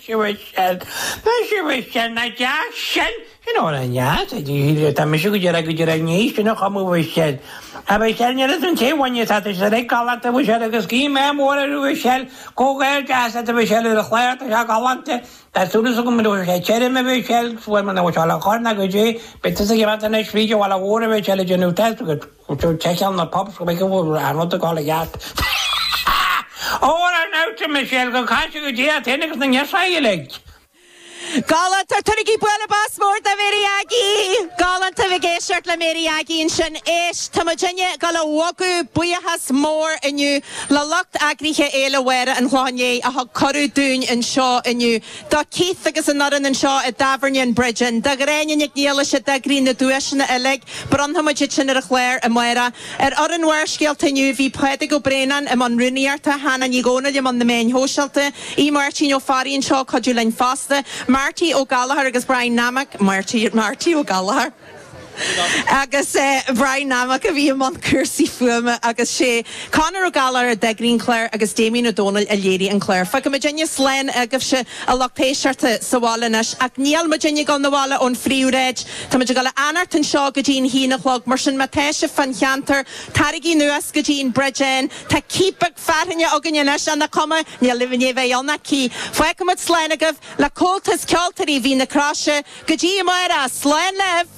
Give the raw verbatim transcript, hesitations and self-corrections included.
Muise Michelle, Muise Michelle, nach deas sin? Sin amhrán deas, tá mise go deireadh go deireadh ní sin a chumadh Michelle. A Michelle, níl fhios an té a bhain tá sé ag galánta Michelle agus guím ádh mór ar Michelle, comhghairdeas deas a Michelle ar a chlár, tá sé galánta. Tá súil agam go raibh sé tirim a Michelle, fuair mé na bhfuil a chur ná go dtí, beidh tusa ag imeacht anois fríd an bhaile mhór a Michelle ag déanamh test agus seiceáil na pubs go mbeidh go bhfuil an rud ag dul i gceart. Óra an Michelle go caise go dtí féin agus na ngearsáil uilig. Galánta tugaigí bualadh bos mór do Mary Aggie! Galánta bheith ag éisteacht le Mary Aggie ansin éist Tá muidinne ag dul a bhogadh buíochas mór inniu le lucht eagraithe Fhéile Mháire an Chlocháin Léith a thug cuireadh dúinn anseo inniu. Do Keith agus an fhoireann anseo i dtábhairne an Bridge Inn, do Ghráinne Nic Niallais a d'eagraigh na duaiseanna uilig, bronnfaidh muid sin ar an chlár amárach. Ar fhoireann Bharrscéalta inniu bhí Pádraig Ó Braonáin i mbun rúnaíochta, Hannah Ní Dhomhnaill i mbun na meáin shóisialta, í Máirtín Ó Fearraigh anseo cuidiú linn fosta, Marty Ó Gallagher agus Brian Nammock Marty Marty Ó Gallagher. Agus eh, Brian Nammock a bhí i mbun cúrsaí fuaime agus sé Conor Ó Gallagher a d'eagraigh an clár agus Damien Ó Dónaill a léirigh an clár. Fágfaidh muidinne slán agaibhse a lucht éisteachta sa bhaile anois ach níl muidinne ag dul 'na bhaile ón phríomhshráid, Tá muid ag dul a fhanacht anseo go dtí an haon a chlog, mar sin má tá sibh fán cheantar taraigí anuas go dtí an Bridge Inn, Tá cíp beag fearthainne againn anois an cuma níl le bheith ann cí. Fágfaimid slán agaibh le Comhaltas Ceoltóirí Mhín na Croise go dtí amárach slán libh!